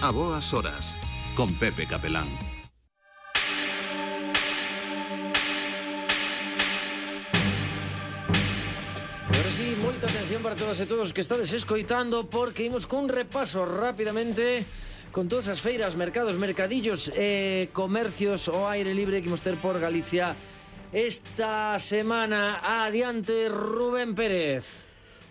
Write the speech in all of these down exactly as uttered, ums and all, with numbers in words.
A boas horas, con Pepe Capelán. Agora sí, moita atención para todas e todos que estades escoitando, porque imos cun repaso rapidamente con todas as feiras, mercados, mercadillos e comercios ao aire libre que imos ter por Galicia esta semana. Adiante, Rubén Pérez.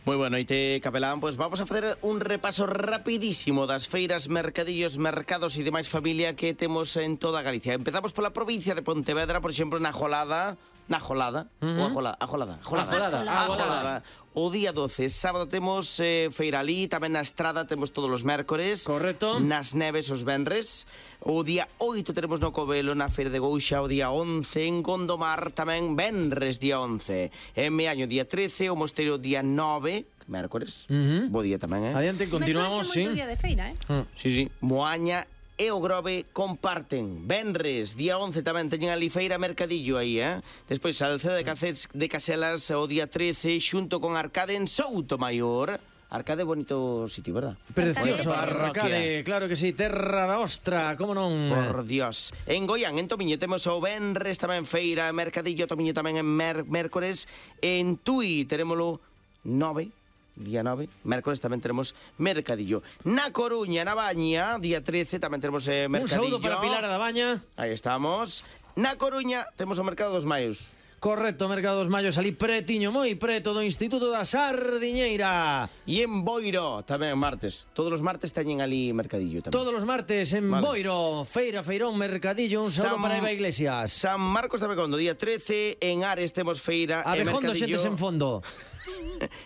Moi boa noite, Capelán. Pois vamos a facer un repaso rapidísimo das feiras, mercadillos, mercados e demais familia que temos en toda Galicia. Empezamos pola provincia de Pontevedra, por exemplo, na Jolada, na Jolada, uh -huh. ou a Jolada, a Jolada, Jolada, Jolada, a Jolada. O día doce, sábado temos eh, feira ali, tamén na Estrada temos todos os mércores. Correcto. Nas Neves os venres. O día oito teremos no Covelo, na Feira de Gouxa. O día once en Gondomar, tamén venres día once. En Meaño día trece, o Mosteiro día nove, mércores. Uh -huh. Bo día tamén, eh? Adiante, continuamos, sí. Día de feira, eh? Uh. Sí, sí. Moaña e o Grove comparten. Venres, día once tamén teñen ali feira mercadillo aí, eh? Despois Salceda de, Caceres, de Caselas o día trece, xunto con Arcade en Soutomaior. Arcade, bonito sitio, verdad? Precioso, Arcade, Arcade, claro que sí, terra da ostra, como non? Por Dios. En Goián, en Tomiño, temos o venres tamén feira, mercadillo, Tomiño tamén en mer mércores. En Tui, terémolo nove, día nove, mércores tamén tenemos mercadillo. Na Coruña, na Baña, día trece, tamén tenemos eh, mercadillo. Un saúdo para Pilar da Baña. Aí estamos. Na Coruña temos o Mercado dos Maios. Correcto, Mercado dos Mayos, ali pretiño, moi preto do Instituto da Sardiñeira. E en Boiro, tamén martes. Todos os martes teñen ali mercadillo tamén. Todos os martes en vale. Boiro, feira, feirón, mercadillo. Un saúdo para Eva Iglesias. San Marcos de Abegondo, día trece. En Ares temos feira e Abegondo, mercadillo. xentes en fondo.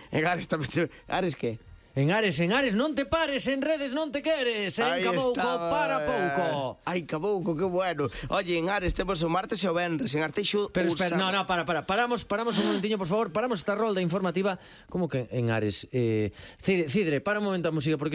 En Ares tamén. Ares que? En Ares, en Ares, non te pares, en redes non te queres. En Ahí Cabouco, estaba. para pouco. Ai, Cabouco, que bueno. Oye, en Ares temos o martes e o venres. En Arteixo... Pero espera, Usa... no, no, para, para. Paramos, paramos un momentiño, por favor. Paramos esta rolda informativa. Como que en Ares? Eh, Cidre, Cidre, para un momento a música, porque